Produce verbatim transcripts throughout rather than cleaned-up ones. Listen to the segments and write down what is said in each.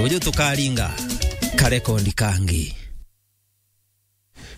Uju tukaringa karekondi kangi.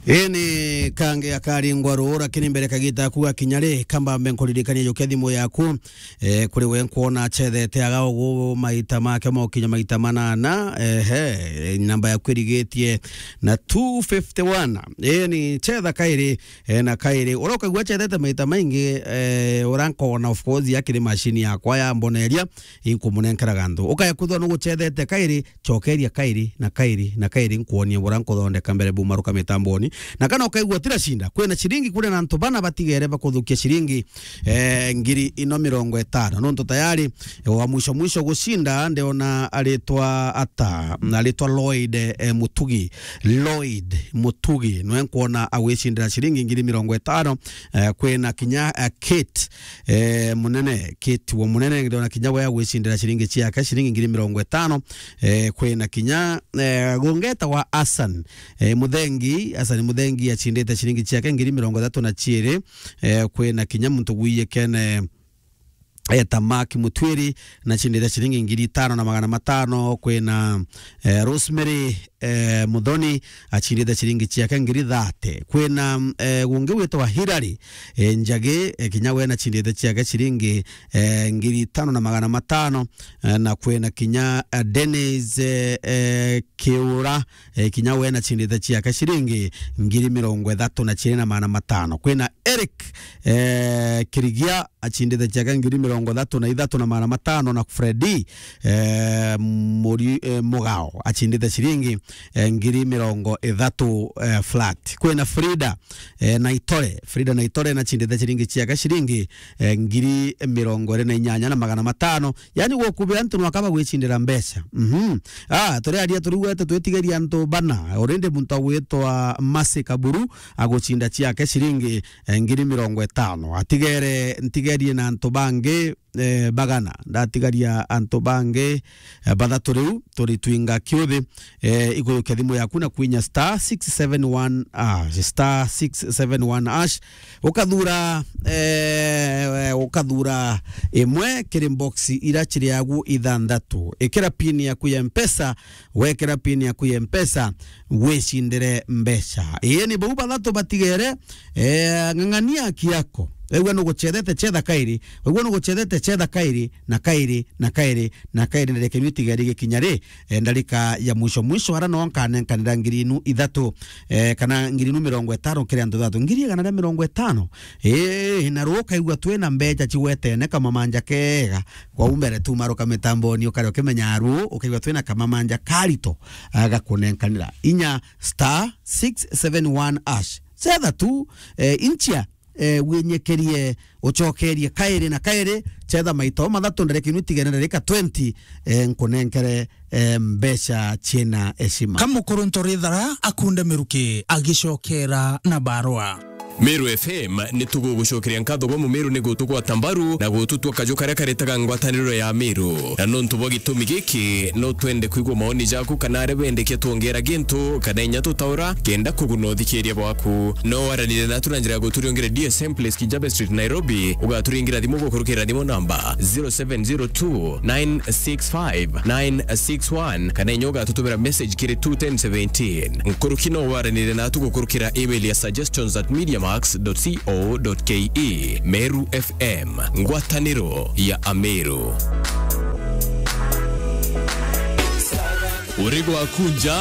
Ini kangi akaringwa ruu, lakini mbere kagita aku gakinya ri, kambambe nkuririkanie jukia thimu yaku, eh, kuri we nkwona acethete aga ugu maita make mokinya maita manana, ehe, namba yaku irigitie na two fifty one. Ini cetha kairi, eh, na kairi. Uria ukaigua acethete maita maingi, eh, uria nkona, of course, akiri machine yakwa ya mboneria, inkumunenkera gantu. Ukaya kwithwa nugucethete kairi, cokeria kairi na kairi na kairi, nkuonie buria nkuthondeka mbere bumaruka mitamboni. Na kana ukaigua tira shinda, kwina ciringi kuri na antu bana batigere bakuthukia ciringi, eh, ngiri ino mirongo itano. Nontu tayari, eh, wa mwisho mwisho gucinda, ndiona aritwa ata, aritwa Lloyd, eh, Mutugi. Lloyd Mutugi, nwe nkuona agwicindira ciringi ngiri mirongo itano, eh, kwina kinya, eh, Kate, eh, Munene, Kate wa Munene, ndiona kinya we agwicindira ciringi ciake, ciringi ngiri mirongo itano, eh, kwina kinya, eh, gungeta wa Hassan, eh, Muthengi, Hassan Muthengi acindite ciringi ciake ngiri mirongo ithatu na ciiri, eh, kwina kinya muntu gwiyekene, eh, ta Mark Mutwiri, na acindite ciringi ngiri itano na magana matano, kwina, eh, Rosemary, eh, Muthoni, acindite ciringi ciake ngiri thate. Kwina, eh, gungi witwa Hilary, eh, Njagi, eh, kinya we nacindite ciake ciringi, eh, ngiri itano na magana matano, eh, na kwina kinya, eh, Dennis, eh, eh, Kiura, eh, kinya we nacindite ciake ciringi ngiri mirongo ithatu na ciiri na magana matano. Kwina Eric, eh, Kirigia, acindite ciake ngiri mirongo ithatu na ithatu na magana matano, na Freddy, eh, Muri-, eh, Mugao acindite ciringi, eh, ngiri mirongo ithatu, eh, flat. Kwina Frida, eh, Naitore, Frida Naitore nacindite ciringi ciake ciringi, eh, ngiri mirongo iri na inyanya na magana matano. Yani gukubia antu nwaka bagwicindira mbeca. Mhm. Ah, turiaria turigwete twitigeria antu bana. Already muntu agwitwa Mercy Kaburu agucinda ciake ciringi, eh, ngiri mirongo itano. Atigere, ntigerie na antu bangi, eh, bagana. Ndatigaria antu bangi, eh, bathatu riu, turi twinga kiuthi, eh, igurukia thimu yaku na kwinya star six seven one hash, star six seven one hash, ukathura, eh, ukathura imwe kiri box ira ciri agu ithanthatu. Ikira pin yaku ya Mpesa, wekira pin yaku ya Mpesa, wicindire mbeca. Ii ni bau bathatu batigere, eh, ng'ang'ania haki yako. Wigua nugucethete, cetha kairi. Wigua nugucethete, cetha kairi, na kairi, na kairi, na kairi, ndarika inu itigeri gikinya ri, eh, ndarika ya mwisho mwisho, ara no nkanenkanira ngiri inu ithatu, eh, kana ngiri inu mirongo itano kiri antu thatu. Ngiri igana ria mirongo itano. Ii, na ruu ukaigua twina mbeca cigwetene kamamanja kega. Kwou mbere tu maruka mitamboni, ukare ukimenya aru, ukaigua twina kamamanja karito, ah, gakunenkanira. Inya star six seven one hash. Cetha tu, eh, inchia, eh, winyekerie, ucokerie kairi na kairi, cetha maito mathatu, ndarika inu itigene ndarika twenty, eh, nkunenkere, eh, mbeca ciina heshima. Ka mukuru ntorithara akunde miruki agicokera na barua. Meru F M ni tugugucokeria nkatho gwa Mumeru ni gutugwata mbaru na gututua kaju karia karitaga ngwataniro ya Meru. Na nontu bwa gitumi giki, no twende kwigua maoni jaku kana aria bendekia twongera gintu kana inya tutaura kenda kuguna uthikiria bwaku. No waranire natu na njira ya guturiongera D S M Place, Kijabe Street, Nairobi, ugaturingira thimu gukurukira thimu namba zero seven zero two nine six five nine six one, kana inya ugatutumira message kiri two ten seventeen. Nkuruki no waranire natu gukurukira email ya suggestions at mediamax dot co dot ke. Meru F M, ngwataniro ya Ameru. Uri gwaku nja,